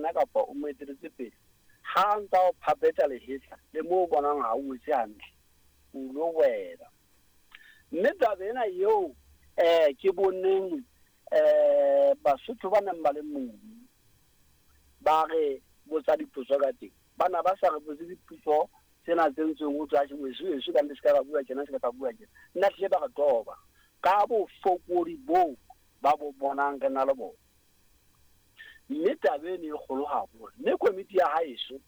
yena kapa o mo eteletse pele, ha a ntsa o phapetsa lehetla le moo o bonang ha o etse hantle, o lo wela. Mme taba ena eo ke boneng Basotho ba neng ba le mono ba re botsa dipotso ka teng, ba na ba sa re botse dipotso tsena tse ntseng ho thwe atjhe weso weso ka nnete se ka ka bua tjena, se ka ka bua tjena. Nna hlile ba re toba ka bofokodi boo ba bo bonang re na le bona. Mme taba eno e kgolo haholo. Mme komiti ya haeso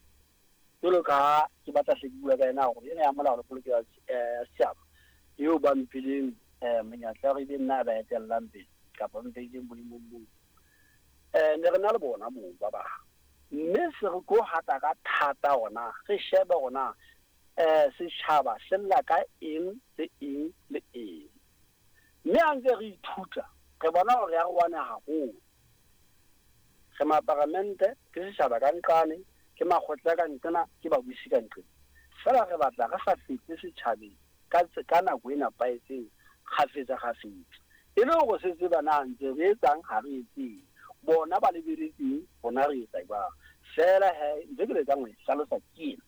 jwalo ka ha ke batla hle ke bua ka yena hore ena ya molao le polokelo ya setjhaba eo ba mphileng monyetla hore ebe nna a ba etellang pele kapa mpeileng boemong boo. Ne re na le bona moo ba bang. Mme se re tlo hata ka thata hore na re shebe hore na setjhaba se lla ka eng le eng le eng. Mme ha ntse re ithuta re bona hore re arohane haholo. Re maparamente, ke setjhaba ka nqane, ke makgotla ka nqena, ke babusi ka nqena. Feela re batla re sa fihle setjhabeng ka ka nako e nepahetseng kgafetsa kgafetsa. E le hore se tseba na ntse re etsang ha re etseng. Bona ba lebeletseng rona re etsa jwang. Feela he ntho e ke lekang ho e hlalosa ke ena.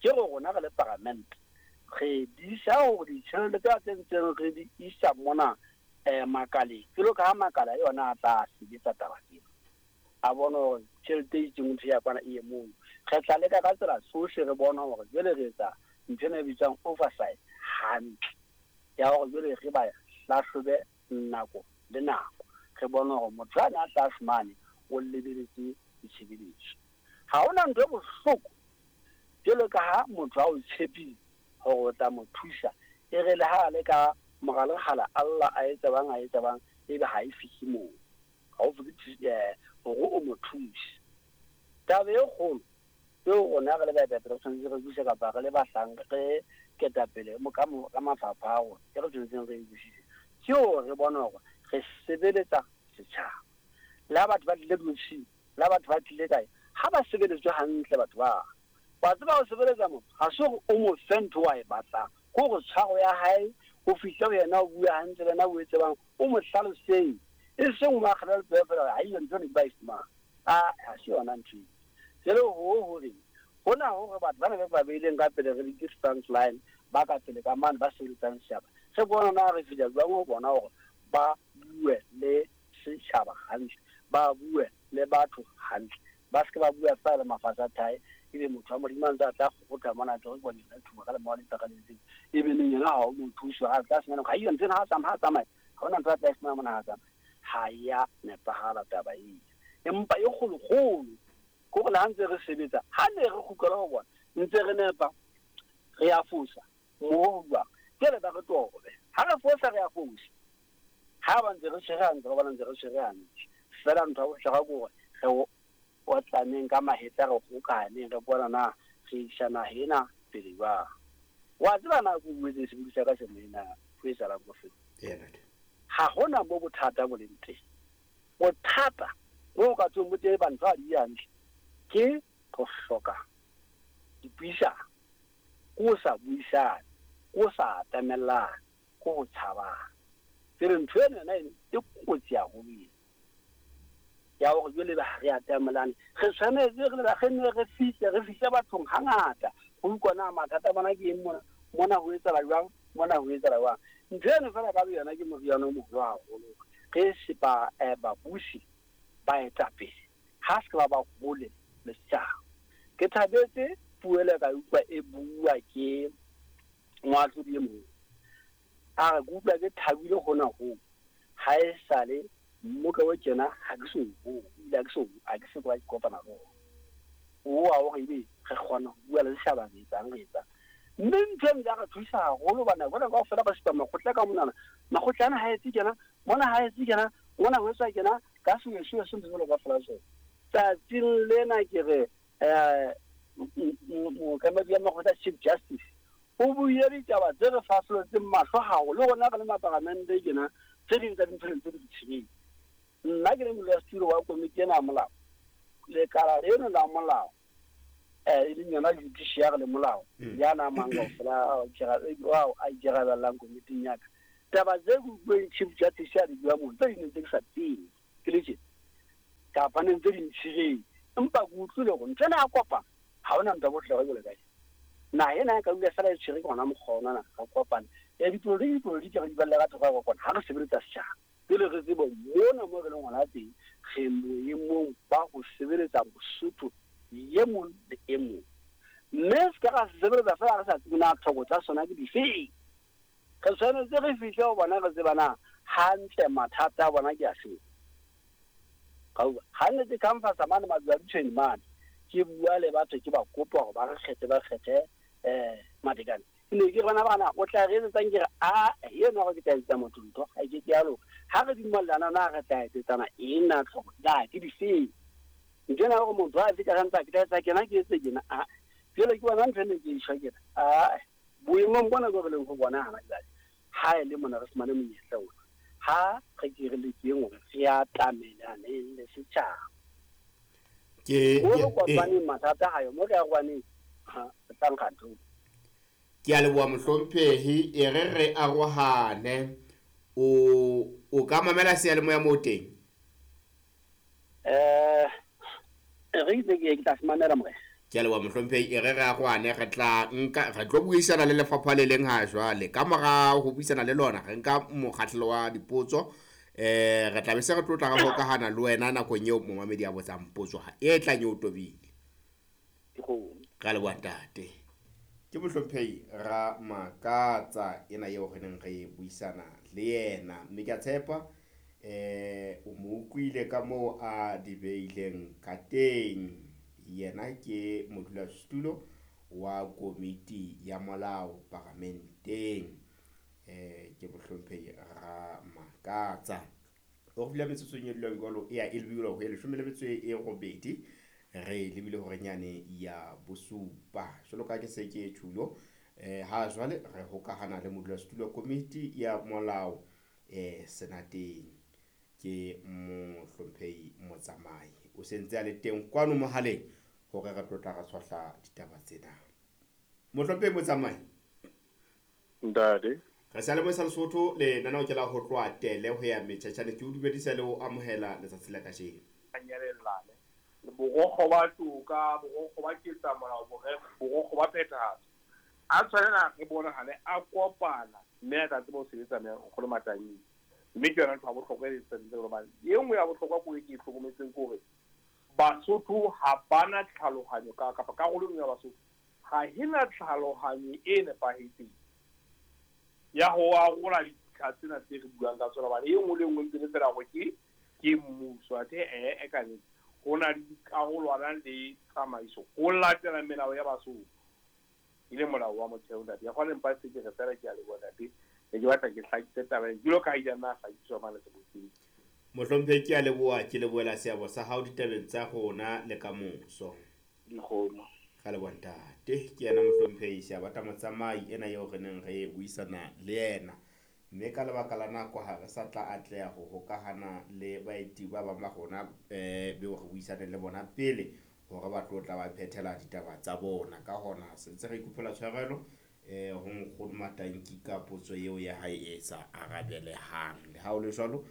Ke hore rona re le paramente re disa hore ditjhelete tsena tse ntseng re di isa mona makaleng, jwalo ka ha makala yona a tla sebetsa taba tsena, a bone hore tjhelete e itseng ntho ya kwana e ye mono. Re tla leka ka tsela tsohle re bone hore jwale re etsa ntho ena e bitswang oversight hantle, ya hore jwale re ba hlahlobe nako le nako, re bone hore motho ane a tla fumane o lebeletse ditshebeletso. Ha hona ntho e bohloko jwalo ka ha motho a o tshepile hore o tla mo thusa, e re le ha a le ka mora lekgala a lla a etsa bang a etsa bang, ebe ha e fihle moo, ha o fihle hore o mo thuse. Taba e kgolo eo rona re le baetapele re tshwanetse re buise kapa re le bahlanka re ketapele ka mafapha a rona e re tshwanetseng re e busise ke hore re bone hore re sebeletsa setjhaba. Le ha batho ba tlile diofising, le ha batho ba tlile kae, ha ba sebeletswe hantle batho ba. Wa tseba ho sebeletsa motho ha se hore o mo fe ntho o a e batlang, ke hore tshwaro ya hae o fihle ho yena o bue hantle le yena o etse bang, o mo hlalosetse, e seng o mo akgele letsoho feela hore haiyo ntho eno ke ba e fumana. A ha se yona ntho eo. Jwale hoo ho reng? Hona hore batho bana be ba beileng ka pele re ke front line ba ka pele ka mane ba sebeletsang setjhaba, re bona na re fihla jwang ho bona hore ba bue le setjhaba hantle, ba bue le batho hantle, ba se ke ba bua feela le mafatshe a thae, ebe motho wa Modimo a ntse a tla kgokgotha mona a tlo re yona thuba ka lemao le mpakaletseng, ebe neng yena ha o mo thuse, a tla sena nako, ha iyo ntho ena ha tsamaya, ha tsamaya, ha hona ntho a tla e fumana mona ha tsamaya. Ha ya nepahala taba eo. Empa e kgolokgolo ke hore le ha ntse re sebetsa, ha ne re kgutlela ho bona, ntse re nepa, re a fosa, moo ho jwang. Jwale ba re tobe. Ha re fosa re a fosa. Ha ba ntse re tshwere hantle, ba bona ntse re tshwere hantle. Feela ntho ya bohlokwa ke hore re otlaneng ka mahetla, re hokahaneng, re bona na re isa naha ena pele jwang. Wa tseba na ke o buetse sebodi sa ka se moena ho etsahalang ko feng? Ha hona mo bothata bo leng teng. Bothata bo ka tsweng bo teng ba ntho ha di hantle ke ho hloka dipuisano, ke ho sa buisane, ke ho sa atamellane, ke ho tshabana. Jwale ntho ena yona eno e kotsi haholo ena ya hore jwale ebe ha re atamelane. Re tshwanetse re le re nne re fihle, re fihle bathong hangata ho utlwa na mathata a bona ke eng mona, mona ho etsahala jwang, mona ho etsahala jwang. Ntho eno feela ka boyona ke moriana o moholo haholo. Re sepa babusi, baetapele ha se ke ba ba hole le setjhaba. Ke thabetse puo ele ka utlwa e bua ke moahlodi e mong. A re ke utlwa ke thabile hona hoo, ha e sale mmoka o tjena ha ke so o bone, ebile ha ke so ha ke so ka ke kopana le ona. Oo wa hore ebe re kgona ho bua le setjhaba re etsang re etsang. Mme ntho eno ya re thusa haholo hobane nako ena kaofela re supa makgotla ka monana, makgotla ana ha etse tjena, mona ha etse tjena, mona ho etswa tjena, ka sewesewe se ntse jwalo kaofela tsona. Tsatsing lena ke re mookamedi wa makgotla Chief Justice o buile ditaba tse re fahlolletseng mahlo haholo, le rona re le maparamente tjena tse ding tsa dintho ne ntse re di tshebetsa. Nna ke le modulasetulo wa komiti ena ya molao, lekala leno la molao e leng yona judiciary le molao ya na mang kaofela ao a ikarabellang komiting ya ka. Taba tse ke utlweng Chief Justice a di bua mono, tse ding ne ntse ke sa tsebe ke le tjena. Kapa ne ntse di ntshireng. Empa ke utlwile hore ntho ena ya kopano ha hona ntwa bohle jwalo ka ena. Naha ena e ka dula feela e tshwere ke hona mokgwa ona na re kopane. Dipolotiki dipolotiki re di balle ka thoko ya kopano ha re sebeletsa setjhaba. Pele re tsebe mona mo re leng hona teng re boemong ba ho sebeletsa Mosotho e mong le e mong. Mme se ka ra se sebeletsa feela re sa tsebe na tlhoko tsa sona ke difeng. Re tshwanetse re fihle ho bona re tseba na hantle mathata a bona ke afeng. Ka utlwa ha ne ke canvassa mane Maduadutshweni mane ke bua le batho ke ba kopa hore ba re kgethe ba kgethe Matekane. Ke ne ke re bana bana o tla re etsetsang ke re a eno hore ke tla etsetsa motho ntho ha ke ke ya loka. Ha re dumellana na re tla etsetsana eng na tlhoko na ke difeng. Ntho ena hore motho a fihla ka ntsa ke tla etsa kena ke etse kena a jwale ke bona ntho ene ke e shwa ke re a boemong bona bo re leng ho bona hana jwale ha e le mona re fumane monyetla ona ha re ke re lekeng hore re atamelaneng le setjhaba. Ke Mo re kopaneng mathata ha yo mo re arohaneng ha re tla nka ntho. Ke a leboha mohlomphehi e re re arohane o ka mamela seyalemoya moo teng. Re itse ke tla se mamela morena. Ke a leboha mohlomphehi e re re arohane re tla nka re tlo buisana le lefapha le leng ha jwale. Ka mora ho buisana le lona re nka mokgahlelo wa dipotso re tla be se re tlo tla re hokahana le wena nakong eo momamedi a botsang potso ha e tlang eo tobile. Re a leboha ntate. Ke mohlomphehi Ramakatsa ena eo re neng re buisana le yena mme ke a tshepa o mo utlwile ka moo a di beileng ka teng. Yena ke modulasetulo wa komiti ya molao paramenteng. Ke mohlomphehi Ramakatsa. O re file metsotsong e dulang jwalo e ya e lebile ho e 18 re lebile hore nyane ya bosupa. Jwalo ka ke se ke tjhulo ha jwale re hokahana le modulasetulo wa komiti ya molao senateng ke mohlomphehi Motsamai. O sentse a le teng kwano mohaleng hore re tlo tla re tshwahla ditaba tsena. Mohlomphehi Motsamai. Ntate. Re sa le mo sa Lesotho le nana o kela ho tloha tele ho ya metjhatjhane ke o dumedisa le ho amohela letsatsi la kajeno. Nyarelane. Borokgo ba toka, borokgo ba ketsamolao, borokgo ba phethahatso. A tshwanela re bonahale a kopana mme a tla tseba ho sebetsa nkgono Matangi. Mme ke yona ntho ya bohlokwa e sentse hobane e nngwe ya bohlokwa ko e ke e hlokometseng ke hore Basotho ha bana tlhalohanyo ka kapa karolo e nngwe ya Basotho ha e na tlhalohanyo e nepahetseng ya ho arola dintlha tsena tse re buang ka tsona hobane e nngwe le e nngwe ntse le fela hore ke mmuso athe e ka nnete ho na le dikarolwana le tsamaiso ho latela melao ya Basotho e le molao wa motheo ntate. Ya kgona empa se ke re fela ke a leboha ntate. Ne ke batla ke hlakise taba ena jwalo ka ha ile nna hlakiswa mane sebokeng. Mohlomphehi ke a leboha ke lebohela seabo sa hao ditabeng tsa rona le ka moso. Dikgomo. Ka leboha ntate. Ke yena mohlomphehi Seabata Motsamai ena eo re neng re buisana le yena. Mme ka lebaka la nako ha re sa tla atleha ho hokahana le baeti ba bang ba rona beo re buisane le bona pele hore ba tlo tla ba phethela ditaba tsa bona. Ka hona se ntse re ikopela tshwarelo ho nkgono Matanki ka potso eo ya hae e sa arabelehang. Le ha ho le jwalo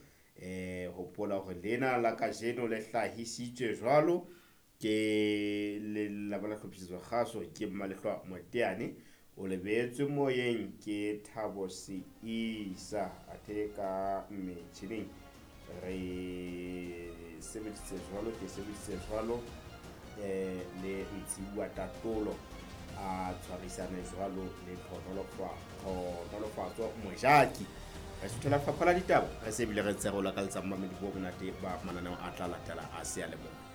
hopola hore lena la kajeno le hlahisitswe jwalo ke lelapa la hlophisetso kgaso ke Mmalehlwa Moteane o lebetswe moyeng ke Thabo Seisa athe ka metjhining re sebedisitse jwalo ke sebedisitse jwalo le Ntshiwa Tatolo a tshwarisane jwalo le Tlhonolofatso Mojaki. Re suthela fapha la ditaba re se bile re ntse re o lakaletsa mamedi bo monate ba mananeo a tla latela a seyalemoya.